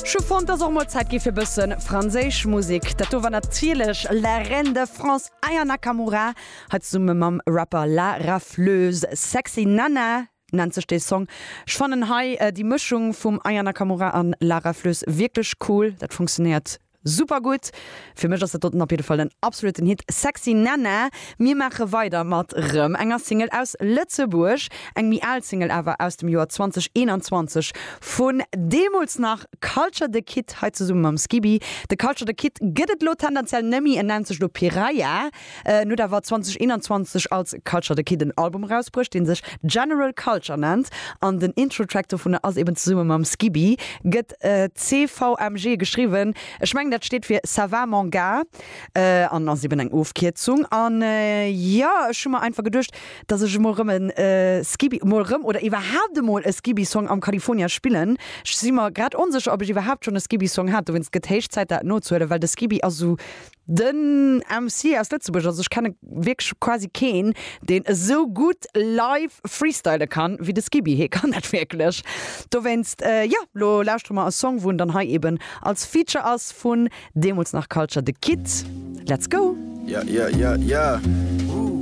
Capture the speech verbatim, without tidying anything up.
Ech hu fonnt, dass och mol Zäit gi fir bësse franséisch Musek. Dat do war natierlech La Reine de France Aya Nakamura, hei zesumme mam Rapper La Rafleuse. Sexy Nana nennt sech dee Song. Ech fannen hei déi Mëschung vum Aya Nakamura an La Rafleuse wierklech cool. Dat funktionéiert super gutt. Fir mech ass dat doten op jidde Fall en absoluten Hit. Sexy Nana. Mir maache weider mat rëm enger Single aus Lëtzebuerg, eng méi al Single awer aus dem Joer zwanzeg eenanzwanzeg vun deemools nach Culture the Kid, hei zesumme mam Skiby. De Culture the Kid gëtt et elo tendenziell nëmmi, en nennt sech elo Piraya. En huet awer zwanzeg eenanzwanzeg als Culture the Kid en Album erausbruecht, dee sech General Culture nennt an den Intro-Track dovunner ass eben zesumme mam Skiby, gëtt C V M G geschriwwen. Ech mengen dat steet fir Ça va mon gars an ass eben eng Ofkierzung. An jo, ech hu mer einfach geduecht, dass ech emol rëm e Skiby, mol rëm oder iwwerhaapt emol e Skiby-Song am California spillen. Ech si mer grad onsécher, ob ech iwwerhaapt schonn e Skiby-Song hat, dowéinst gëtt héich Zäit dat nozehuelen, well de Skiby ass esou den M C aus Lëtzebuerg, also ech kenne wierklech quasi keen, deen esou gutt live freestyle kann wéi de Skiby. Hie kann dat wierklech. Dowéinst, jo, lo lauschtere mer e Song, wou en dann hei eben als Feature ass vun deemools nach Culture the Kid. Let's go! Yeah, yeah, yeah, yeah.